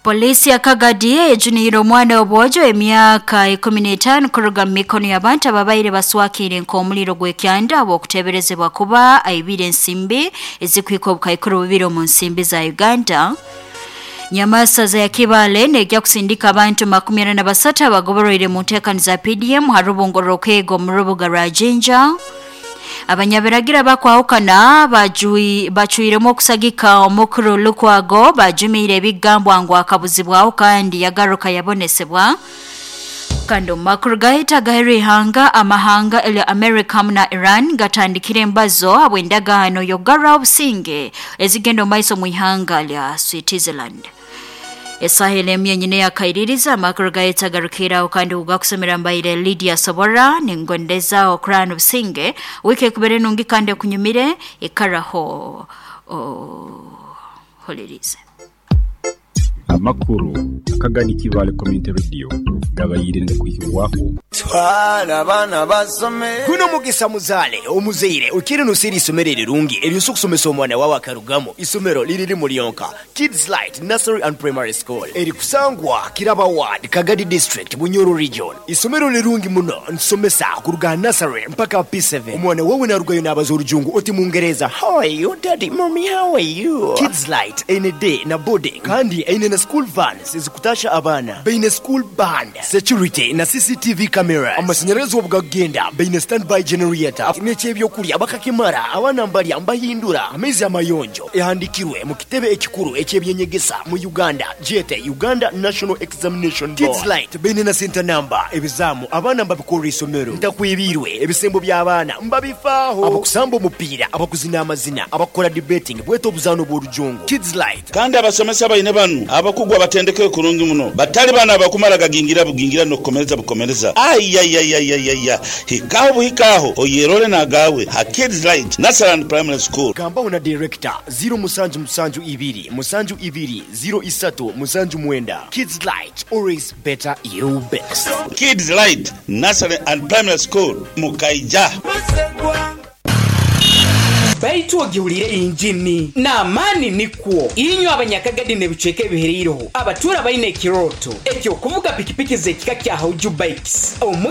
Polisi ya Kagadi ejuniire omwana w'obwojo emyaka 15 kuruga mu mikono y'abantu ababaire baswakire nk'omuliro gw'ekyanda habw'okuteeberezebwa kuba aibire ensimbi ezikuhika obukaikuru bubiri omu nsimbi za Uganda. Nyamasaza ya Kibale nejja kusindika abantu 43 abagoboroire mu nteekani za PDM ha rubungo rw'okwega omu rubuga rwa Jinja. Abanyabiragira bakwahukana bacwiremu okusagika omukuru Lukwago bajumiire ebigambwa ngu akabuzibwaho kandi yagaruka yabonesebwa. Kandi omu makuru gahita agaheru ihanga amahanga elya America hamu na Iran gatandikire embazo habw'endagaano y'okugarraho obusinge ezigenda omu maiso mu ihanga lya Switzerland. Esaha emu yenyine yakaiririza amakuru gahita agarukiraho kandi ugakusomera mbaire Lydia Sobora ningondeza okurana obusinge wiki ekubere nungi kandi ekunyumire ikaraho oholerize. Amakuru akagani Kibale Community Radio gabayire ngakuhibwaho. Twala abaana basome. Guno mugisa muzaale omuzaire okire nosera isomero erirungi eryosa okusomesa omwana wawe akarugamu. Isomero liri limu lyonka, Kids Light Nursery and Primary School, erikusangwa Kiraba Ward, Kagadi District, Bunyoro Region. Isomero lirungi muno, ntusomesa kuruga nursery mpaka P7. Omwana wawe narugayo nabaza orujungu oti Mungereza, how are you daddy, mommy, how are you? Kids Light eine day na boarding kandi eine na school vans ezikutasha abaana, baine school band, security na CCTV cameras, amashanyarazi obugagenda, baine standby generator n'ekyebyokulya bakakimara, abaana mbalya mbahindura, amaizi amayonjo. Ehandikirwe mu kitebe ekikuru eky'ebyenyegesa mu Uganda, gyete Uganda National Examination Board. Kids Light baine na center number, ebizaamu abaana mbabikorera isomero, ntakwibirwe ebisembo by'abaana mbabifaaho, abakusamba omupiira, abakuzina amazina, abakukora debating, bwete obuzaano bw'orujungu. Kids Light. Kandi abasomesa baine banu abakugu abatendekere kurungi muno, batali bano abakumala gagingira bugingira n'okukomereza bukomereza. Ayayayayaya, hikaho buhikaho oyerole nagawe ha Kids Light Nursery and Primary School. Gambaho na director 0 musanju musanju ibiri musanju ibiri 0 isatu musanju mwenda. Kids Light, always better you best. Kids Light Nursery and Primary School Mukaija. Baitu ogiwulire injini n'amaani nikwo. Inywe abanyakagadi n'ebicweka ebihereireho, abatuura baine ekirooto eky'okuvuga pikipiki z'ekika kya Hauju Bikes. Omu